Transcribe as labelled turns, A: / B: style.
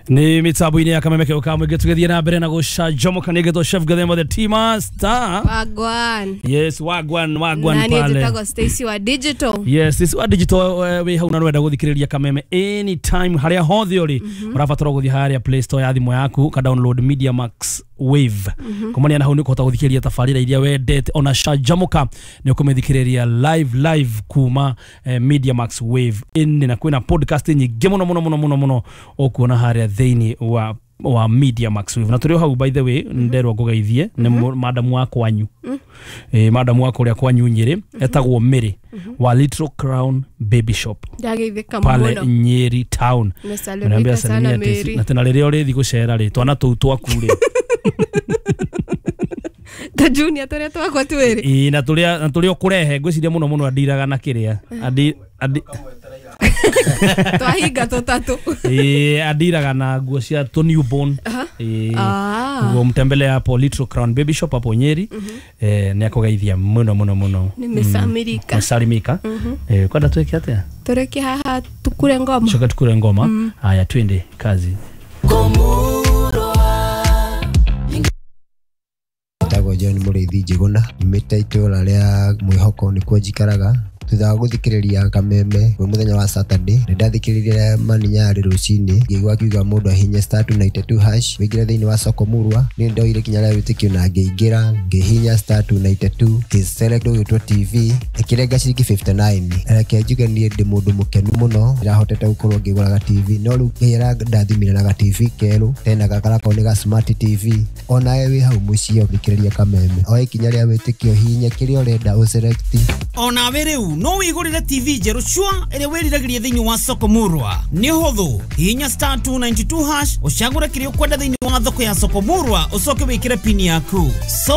A: Nĩ mĩtambo-inĩ ya Kameme kĩo ka mũingĩ, tũgĩthiĩ na mbere na gũcanjamũka. Nĩ ngĩtwo Chef Gathemba, the tea master.
B: Wagwan.
A: Yes, wagwan, wagwan.
B: Nani?
A: Pale.
B: Njĩtagwo Stacy wa digital.
A: Yes, this wa digital. Wĩ hau na nĩwenda gũthikĩrĩria Kameme anytime harĩa hothe ũrĩ, ũrabatara gũthiĩ harĩa Play Store ya thimũ yaku, ka download Media Max Wave. Kumania na hau nĩ ũkũhota gũthikĩrĩria tabarĩra iria wendete, ona Canjamũka nĩ ũkũmĩthikĩrĩria live live kuma Media Max Wave ĩnĩ, na kwĩna podcast nyingĩ mũno mũno mũno mũno mũno ũkuona harĩa thĩinĩ wa Media Max Wave. Na tũrĩ o hau, by the way, nderwo ngũgeithie nĩ madamu wa kwanyu, madamu wa kũrĩa kwanyu Nyĩrĩ, etagwo Mary wa Little Crown Baby Shop
B: Ndageithĩka
A: pale
B: mũno.
A: Nyeri town.
B: Nimesalimika
A: Niambia
B: sana.
A: salimia Tesi.
B: Mary.
A: Na tena rĩrĩa ũrĩthi gũcera rĩ, twana tũu twaku rĩ.
B: Ta junior tũrĩa twakwa twĩrĩ.
A: Ĩĩ, na tũrĩa ũkũrehe, ngwĩciria mũno mũno andiraga na kĩrĩa andi
B: Twahinga tũtatũ.
A: Ĩĩ, andiraga na nguo cia tũ newborn. Ĩĩ.
B: Ah.
A: Ũguo mtembele hapo Little Crown Baby Shop hapo Nyeri. Nĩ akũgeithia mũno mũno mũno.
B: Nimesamirika.
A: Mesalimika. Kwenda twĩke atĩa?
B: Tũreke haha tukure ngoma.
A: Coka tukure ngoma. Haya, twende kazi.
C: Njĩtagwo John Mũrĩithi Njĩgũna, nyumĩte itũra rĩa Mwĩhoko, nĩkuo njikaraga. Thutha wa gũthikĩrĩria Kameme kwĩ mũthenya wa Saturday, nĩ ndathikĩrĩirie Mani Nyarĩ rũcinĩ, ngĩigua akiuga mũndũ ahinye *292# wĩingĩre thĩinĩ wa soko murwa. Niĩ ndoire ikinya rĩa wĩtĩkio na ngĩingĩra, ngĩhihinya *292, ngĩselect ũgĩtwo TV, ĩkĩrenga ciringi 59. Reke njuge niĩ ndĩ mũndũ mũkenu mũno, ndĩrahotete gũkorwo ngĩgũra TV, no rĩu Ngai arandathimire na ga TV kerũ tena gakarakorwo nĩ ga smart TV. Onawe wĩ hau mũciĩ ũthikĩrĩria Kameme, oe ikinya rĩa wĩtĩkio, hihinya kĩrĩa ũrenda, ũselect.
D: Onawe rĩu no wĩgũrĩre TV njerũ cua ĩrĩa wĩriragĩria thĩinĩ wa soko murwa. Nĩ ũhũthũ, hihinya *292# ũcagũre kĩrĩa ũkwenda thĩinĩ wa thoko ya soko murwa, ũcoke wĩkĩre pini yaku. Soko